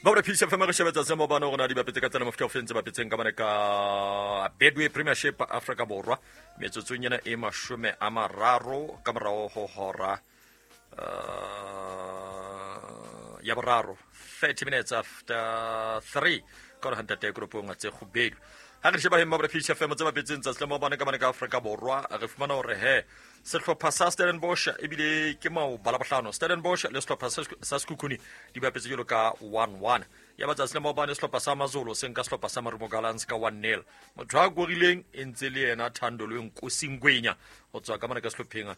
Ba Peace FM re shebetsa se mobane gore na di bapetse ka tsela mofuta o fentse bapetseng ka bane ka Betway Premiership Africa Borwa metsotsong ena e 30 ka morago ho hora ya boraro, 30 minutes after 3 ka gore gantate koropong tse kgubedu. Ha re sheba hemma Peace FM tse bapetseng tsatsi la maobane ka bane ka Afrika Borwa, re fumana hore he sehlopha sa Stellenbosch ebile ke maoba la bohlano, Stellenbosch le sehlopha sa Sekhukhune di bapetse jalo ka 1-1. Ya ba tsatsi la maobane sehlopha sa Mazolo se nka sehlopha sa Marumo Gallants ka 1-0. Motho a korileng e ntse le yena Thando le Nkosi Ngwenya go tswa ka mane ka sehlopheng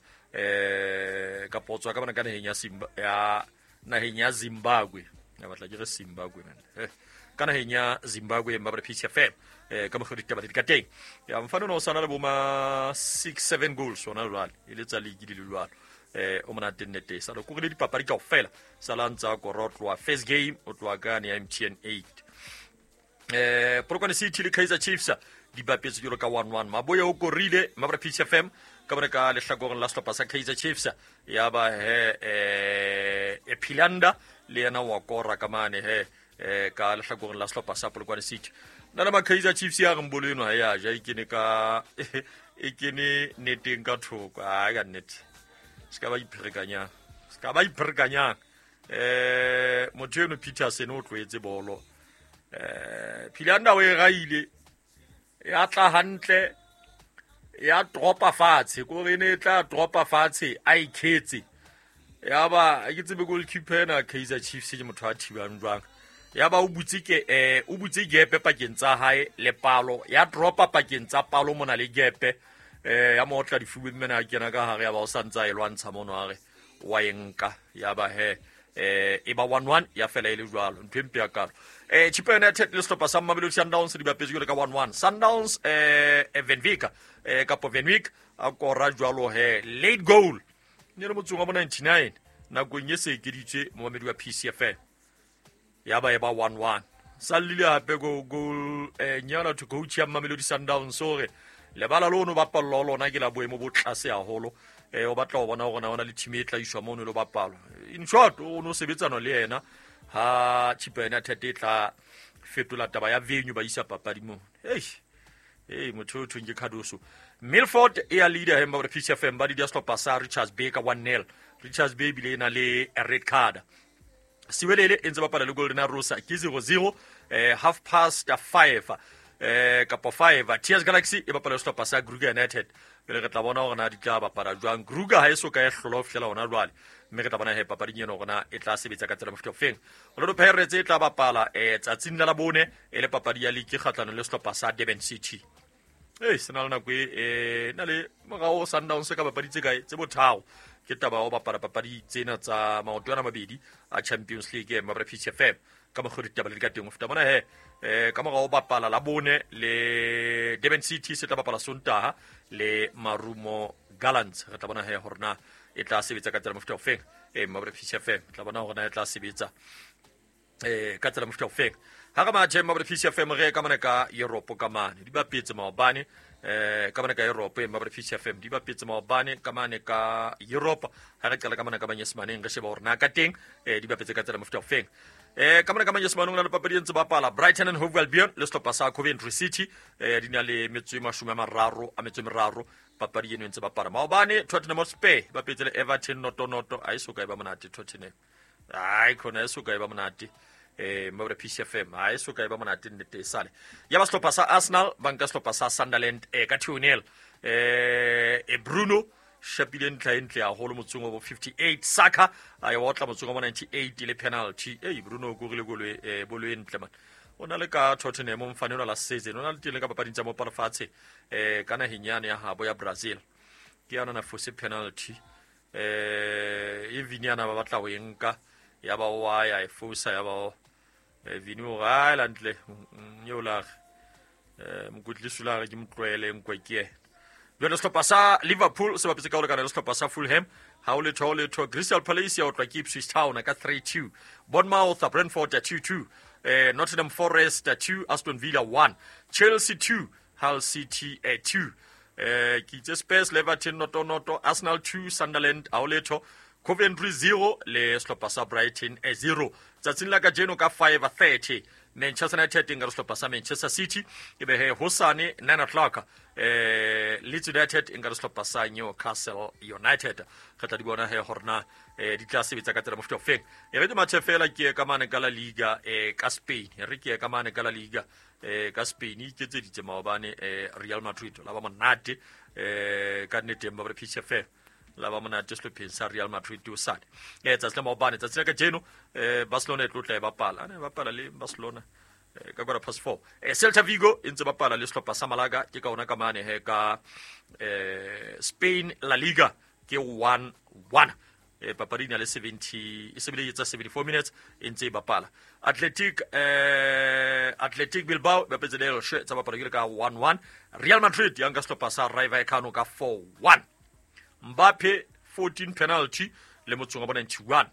kapo go tswa ka mane ka naheng ya Simba ya naheng ya Zimbabwe. Ya batla ke re Zimbabwe man. Ka naheng ya Zimbabwe mma ba Peace FM ka mokgwa ditaba di ka teng. Ya mfano no sana le boma 6-7 goals ona jwale e le tsa league di le jwalo. O monate nnete sa lo kurile dipapadi kaofela sa la ntsa korotloa first game o tloa ka ne ya MTN 8. Polokwane City le Kaizer Chiefs di bapetse jalo ka 1-1. Maboya o korile mma ba Peace FM ka bone ka lehlakoreng la sehlopha sa Kaizer Chiefs. Ya ba he Philanda le yena wa kora ka mane he ka lehlakoreng la sehlopha sa Polokwane City. Nna le ma Kaizer Chiefs ya reng bolo eno ha ya ja e kene ka e kene neteng ka thoko. Ai ka nnete se ka ba ipherekanyang, se ka ba ipherekanyang. Motho eno Peterson o tloetse bolo. Philanda o e raile ya tla hantle ya dropa fatshe, ko re ne e tla dropa fatshe a ikhetse. Ya ba ke tsebe goalkeeper ena Kaizer Chiefs ke motho a thibang jwang. Ya ba o butse ke o butse gepe pakeng tsa hae le palo, ya dropa pakeng tsa palo mona le gepe. Ya mo otla difubeng mena a kena ka hare, ya ba o santsa e lwantsha mono a re wa e nka. Ya ba he e ba 1-1 ya fela e le jwalo, ntho e mpe ya kalo. Chippa United le sehlopha sa Mamelodi Sundowns di bapetse jwalo ka 1-1. Sundowns Van Wyk kapo Van Wyk a kora jwalo he late goal ne le motsong wa bo 99 nakong e se ekeditswe momamedi wa PCFM. Ya ba e ba 1-1. Sa llile hape go goal nyana to coach ya Mamelodi Sundowns hore lebala lono bapallwa ho lona ke la boemo bo tlase haholo. O batla ho bona hore na ona le team e tla iswa mono le bapalwa. In short o no sebetsana le yena ha Chippa United e tla fetola taba ya venue ba isa papadi mo. Hey, motho o thweng ke Cardoso. Milford e ya leader he mma Peace FM ba di sehlopha sa Richards Bay ka 1-0. Richards Bay bile e na le red card. Siwelele e ntse bapala le Golden Arrows ke 0-0 5:30 kapo 5. TS Galaxy e bapala le sehlopha sa Kruger United. Pele re tla bona hore na di tla bapala jwang. Kruger ha e so ka e hlola ho fihlela hona jwale, mme re tla bona he papading eno hore na e tla sebetsa ka tsela mofuta ofeng. Orlando Pirates e tla bapala tsatsing la Labone e le papadi ya league kgahlanong le sehlopha sa Durban City. Se na le nako e na le morao Sundowns ka papadi tse kae tse botharo. Ke taba ya ho bapala papadi tsena tsa maoto ana mabedi a Champions League mma Peace FM ka mokgwa ditaba le di ka teng. Ho feta mona he ka morao bapala Labone le Durban City se tla bapala Sontaha le Marumo Gallants. Re tla bona he hore na e tla sebetsa ka tsela mofuta ofeng. Mma Peace FM tla bona hore na e tla sebetsa ka tsela mofuta ofeng. Ha re mathe mma Peace FM re ka mona ka Europe ka mane di bapetse maobane ka mona ka Europe mma Peace FM di bapetse maobane ka mane ka Europe. Ha re qala ka mona ka Manyesemaneng re sheba hore na ka teng di bapetse ka tsela mofuta ofeng. Ka mona ka Manyesemaneng na le papadi e ntse bapala Brighton and Hove Albion le sehlopha sa Coventry City di na le metso e 33 papadi eno e ntse bapala. Maobane Tottenham Hotspur bapetse le Everton noto-noto, ha e so ka e ba monate Tottenham. Ai khona e so ka e ba monate. Mma Peace FM ha e so ka e ba monate nnete e sale. Ya ba sehlopha sa Arsenal ba nka sehlopha sa Sunderland ka 2-0. Bruno shapile ntlha e ntle haholo motsong wa bo 58. Saka a e otla motsong wa bo 98 le penalty. Bruno o korile golo bolo e ntle man. O na le ka Tottenham mfane ona la season, o na le teng le ka papading tsa mopala fatshe ka naheng yane ya habo ya Brazil. Ke yana na fose penalty. E Vini ana ba batla ho e nka ya ba wa ya e fosa ya ba Vini o ra la ntle eo la mokwetlisi la re ke motloele nkwe ke yena. Jwale sehlopha sa Liverpool se bapetse ka ho lekana le sehlopha sa Fulham ha o letho letho. Crystal Palace ya otlwa ke Ipswich Town ka 3-2. Bournemouth Brentford 2-2. Nottingham Forest 2, Aston Villa 1, Chelsea 2, Hull City 2. Ke itse Spurs Everton noto noto, Arsenal 2, Sunderland ha o letho, Coventry 0 le sehlopha sa Brighton 0. Tsatsing la kajeno ka 5:30 Manchester United e nka sehlopha sa Manchester City, e be he hosane 9 o'clock Leeds United e nka sehlopha sa Newcastle United. Re tla di bona he hore na di tla sebetsa ka tsela mofuta ofeng. E re ke mathe fela ke ka mane ka La Liga ka Spain. E re ke ka mane ka La Liga ka Spain e iketseditse maobane Real Madrid la ba monate ka nnete ba re PCF la ba monate sehlopheng sa Real Madrid o sane tsatsi la maobane. Tsatsi la kajeno Barcelona e tlo tla e bapala, ne bapala le Barcelona ka 4:15. Celta Vigo e ntse bapala le sehlopha sa Malaga, ke ka ona ka mane he ka Spain La Liga ke 1-1. Papadi ena le 70 e sebele etsa 74 minutes e ntse e bapala. Athletic Bilbao ba bapetse le Elche tsa bapala ke ka 1-1. Real Madrid ya nka sehlopha sa Rayo Vallecano ka 4-1. Mbappe 14 penalty le motsong wa 91.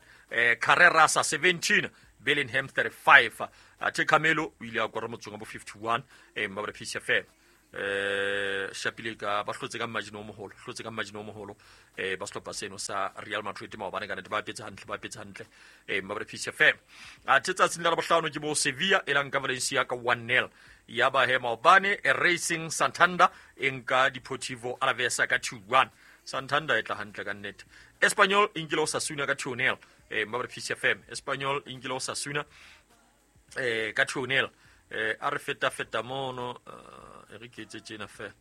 Carreras 17, Bellingham 35. Athe Camelo o ile a kora motsong wa 51 Mbappe PCF. Shapile ka ba hlotse ka margin o moholo, hlotse ka margin o moholo ba sehlopha seno sa Real Madrid maobane ka nnete ba petse hantle, ba petse hantle Mbappe PCF. Athe tsatsing la bohlano ke bo Sevilla e lang ka Valencia ka 1-0. Ya ba he maobane Racing Santander e nka Deportivo Alavés ka 2-1. Santander e tla hantle ka nnete. Espanyol e nkile Osasuna ka 2-0 Mbappe PCF. Espanyol e nkile Osasuna ka 2-0. A re feta feta mono re ke etse tjena fela,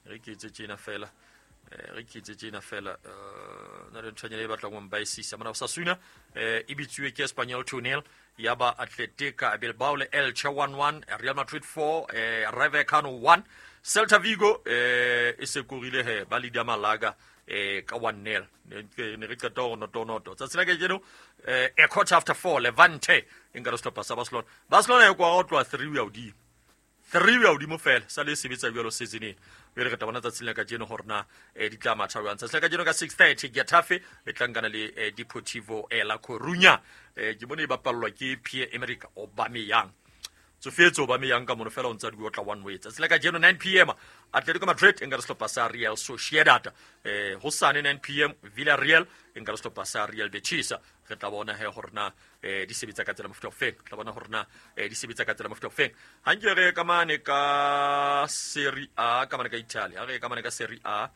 re ke etse tjena fela, re ke etse tjena fela. Na le nthonyana e batlang ho mbaisisa mona. Osasuna e bitsuwe ke Espanyol 2-0, ya ba Athletic Bilbao le Elche 1-1, Real Madrid 4, Rayo Vallecano 1. Celta Vigo e se korile he ba leader Malaga ka 1-0. Ne re qeta ho noto noto. Tsatsi la kajeno a 4:15 Levante e nka sehlopha sa Barcelona. Barcelona e kwa ho tloha 3 ya hodimo. 3 ya hodimo fela sa le sebetsa jwalo season ena. Jwale re tla bona tsatsing la kajeno hore na di tla matha jwang. Tsatsi la kajeno ka 6:30 Getafe e tla nkana le Deportivo La Coruña. Ke bone e bapallwa ke Pierre-Emerick Aubameyang. Tsofetse Aubameyang ka mono fela o ntsa di otla one way. Tsatsi la kajeno 9 p.m. Atletico Madrid e nka sehlopha sa Real Sociedad. Hosane 9 p.m. Villarreal e nka sehlopha sa Real Betis. Re tla bona he hore na di sebetsa ka tsela mofuta ofeng. Tla bona hore na di sebetsa ka tsela mofuta ofeng. Ha nke re ka mane ka Serie A, ka mane ka Italy. Ha re ka mane ka Serie A,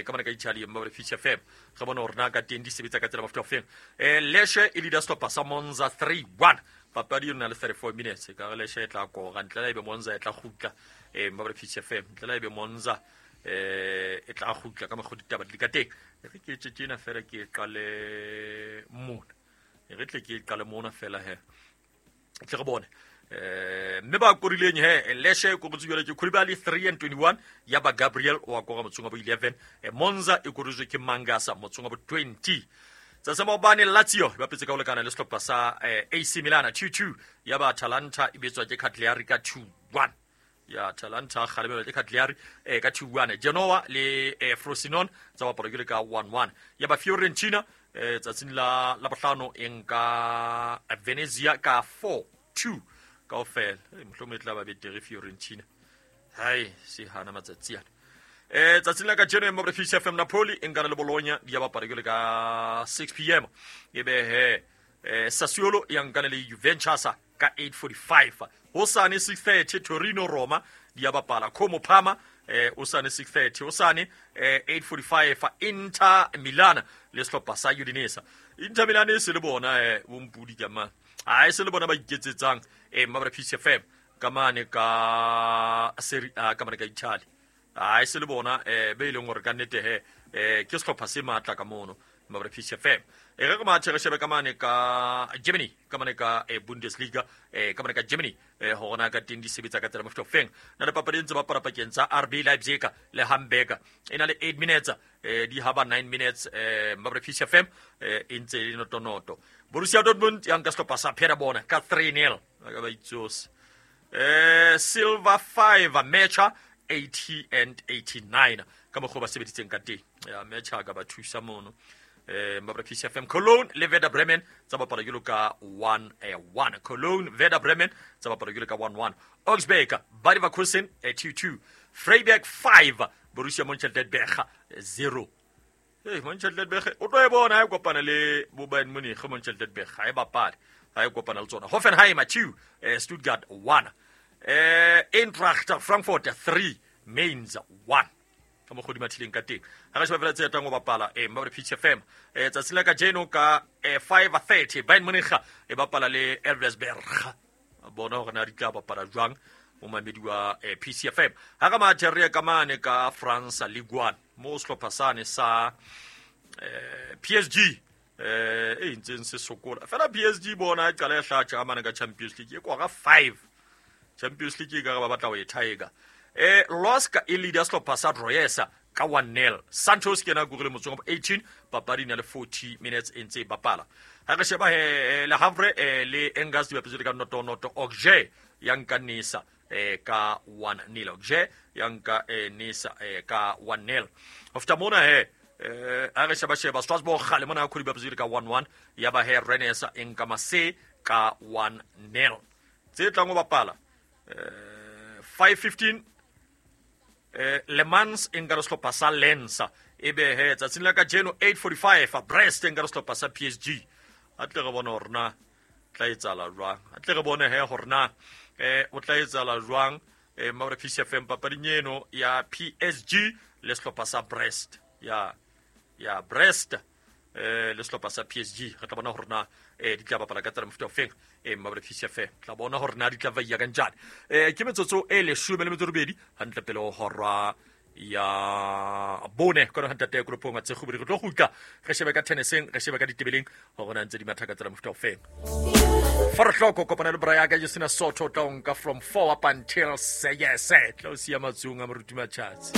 ka mane ka Italy mma re Feature FM. Re bona hore na ka teng di sebetsa ka tsela mofuta ofeng. Lecce e leader sehlopha sa Monza 3-1. Papadi e na le 34 minutes. Ka re Lecce e tla kora ntle la ebe Monza e tla kgutla mma re Feature FM. Ntle la ebe Monza e tla kgutla ka mokgwa ditaba di ka teng. Re ke etse tjena fela ke qale mona. Re tle ke qale mona fela he. Tle re bone. Mme ba korileng he Lecce e korotse jwale ke Koulibaly 3 and 21, ya ba Gabriel wa kora motsong wa bo 11. Monza e korotswe ke Mangasa motsong wa bo 20. Tsatsi maobane Lazio ba petse ka ho lekana le sehlopha sa AC Milan 2-2, ya ba Atalanta e betswa ke Cagliari ka 2-1. Ya Atalanta kgalemelwa ke Cagliari ka 2-1. Genoa le Frosinone tsa bapala ke ka 1-1. Ya ba Fiorentina tsatsing la bohlano e nka Venezia ka 4-2 kaofela. Mohlomong e tla ba betere Fiorentina. Hai se hana matsatsi ana. Tsatsing la kajeno Mbappe Feature FM Napoli e nkana le Bologna di ya bapala ke ka 6 p.m. E be he Sassuolo ya nkana le Juventus ka 8:45. Hosane 6:30 Torino Roma di ya bapala. Como Parma hosane 6:30. Hosane 8:45 Inter Milan le sehlopha sa Udinese. Inter Milan e se le bona bompudi ka mang. A e se le bona ba iketsetsang Mbappe Feature FM ka mane ka Serie A ka mane ka Italy. A e se le bona be ileng hore ka nnete he ke sehlopha se matla ka mono Mbappe Feature FM. E re mathe re shebe ka mane ka Germany, ka mane ka Bundesliga, ka mane ka Germany hore na ka teng di sebetsa ka tsela mofuta ofeng. Na le papadi e ntse bapala pakeng tsa RB Leipzig le Hamburg. E na le 8 minutes, di haba 9 minutes Mbappe Feature FM e ntse e le notonoto. Borussia Dortmund ya nka sehlopha sa Paderborn ka 3-0. Ka ba itsose. Silva 5 Mecha 80 and 89 ka mokgwa ba sebeditseng ka teng. Ya Mecha ka ba thusa mono. Mbappe Feature FM Cologne le Werder Bremen tsa bapala jwalo ka 1-1. Cologne Werder Bremen tsa bapala jwalo ka 1-1. Augsburg Bayer Leverkusen 2-2. Freiburg 5 Borussia Mönchengladbach 0. Mönchengladbach o tlo e bona ha e kopana le bo Bayern Munich. Mönchengladbach ha e bapale. Ha e kopana le tsona. Hoffenheim 2, Stuttgart 1, Eintracht Frankfurt 3, Mainz 1. Ka mokgwa di mathileng ka teng. Ha re sheba fela tse etang go bapala mabare Pitch FM tsatsing la kajeno ka 5:30, Bayern Munich e bapala le Elversberg. Bona hore na di tla bapala jwang, momamedi wa PCFM. Ha ka mathe re ye ka mane ka France Ligue 1, mo sehlopha sane sa PSG e ntseng se sokola fela. PSG bona e qala e hlatja ka mane ka Champions League, e kora 5 Champions League, e ka re ba batla ho e thaeka. LOSC e leader sehlopha sa Troyesa ka 1-0. Santos ke yena korile motsong wa 18, papadi e na le 40 minutes e ntse e bapala. Ha re sheba he, Le Havre le Angers di bapetse ka 0-0. Auxerre ya nka Nisa ka 1-0. Auxerre ya nka Nisa ka 1-0. Ho feta mona he, ha re sheba sheba Strasbourg le mona di bapetse ka 1-1. Ya ba he Rennes e nka Marseille ka 1-0. Tse tlang ho bapala, 5:15, Le Mans e nka le sehlopha sa Lens. Ebe he tsatsing la kajeno 8:45, Brest e nka le sehlopha sa PSG. A tle re bone hore na tla etsahala jwang. A tle re bone he hore na o tla etsahala jwang, mabra PCFM, papading eno ya PSG le sehlopha sa Brest, ya Brest le sehlopha sa PSG. Re tla bona hore na di tla bapala ka tsela mofuta ofeng, mabra PCFM. Tla bona hore na di tla vaiya kanjani. Ke metsotso e 18 hantle pele ho hora ya bone kona hantate koropong tse kgubedi. Re tlo kgutla re shebe ka tenniseng, re shebe ka ditebeleng hore na ntse di matha ka tsela mofuta ofeng. Fa re hloko kopana le bra ya ka Justina Soto, tla o nka from 4 up until seyese, tla o siya matsong a moruti Matjhatsi.